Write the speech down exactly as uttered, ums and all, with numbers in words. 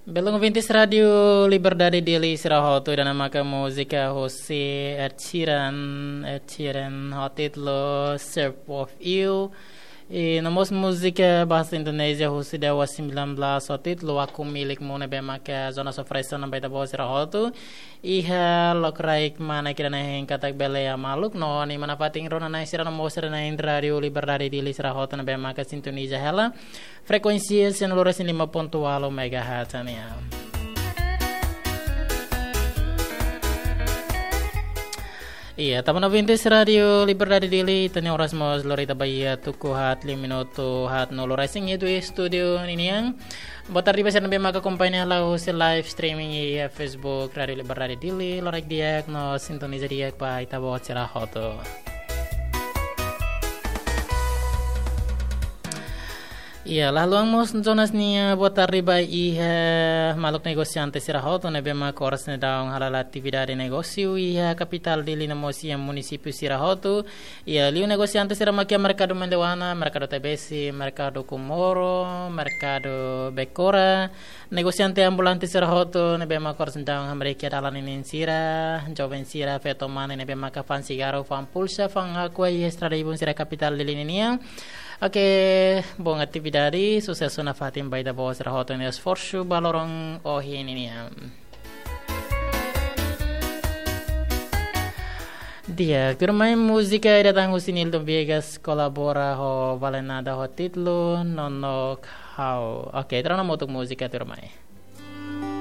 Belun ouvintes Rádio Liberdade Dili sira hotu, ida-ne'e maka múzika husi Ed Sheeran, Ed Sheeran ho títulu Shape of You. I no mós múzika bahasa Indonézia husi Dewa sembilan belas ho títulu Aku Milikmu ne'ebé maka Jonas Operation no Baita Boa sira hotu. Iha lokraik mana kira na hein katak bele ya maluk no ni mana fatin rona na sira no mós sira na hein Rádio Liberdade Dili sira hotu ne'ebé maka sintoniza hela frekuénsia sianulu resin lima pontu ualu megahertz nian. Iya, tanba ouvintes Rádio Liberdade Dili, ita-nia oras mós lori ita ba iha tuku haat liu minutu haatnulu resin iha estúdiu ninian. Boa tarde ba sira ne'ebé maka akompaña hela husi live streaming iha Facebook Rádio Liberdade Dili, lokraik di'ak no sintoniza di'ak ba ita-boot sira hotu. Iya, la haluha mós Jonas nia boa tarde ba iha maluk negosiante sira hotu ne'ebé maka oras ne'e daudaun hala'o atividade negósiu iha kapitál Dili no mós iha munisípiu sira hotu. Iya, liu negosiante sira maka iha merkadu Mendewahana, merkadu Tebesi, merkadu Comoro, merkadu Becora. Negosiante ambulante sira hotu ne'ebé maka oras ne'e daudaun hamriik iha dalan ninin sira, joven sira, feto mane ne'ebé maka fa'an sigarru, fa'an pulsa, fa'an Aqua iha estrada ibun sira kapitál Dili ninian. Oke, bom atividade, susesu nafatin ba ita-boot sira hotu nia esforsu ba loron ohin ninian. Di'ak, tuirmai múzika ida tan husi Nilton Viegas kolabora ho Valenada ho títulu Nonook Ha'u. Oke, ita rona hamutuk múzika tuirmai.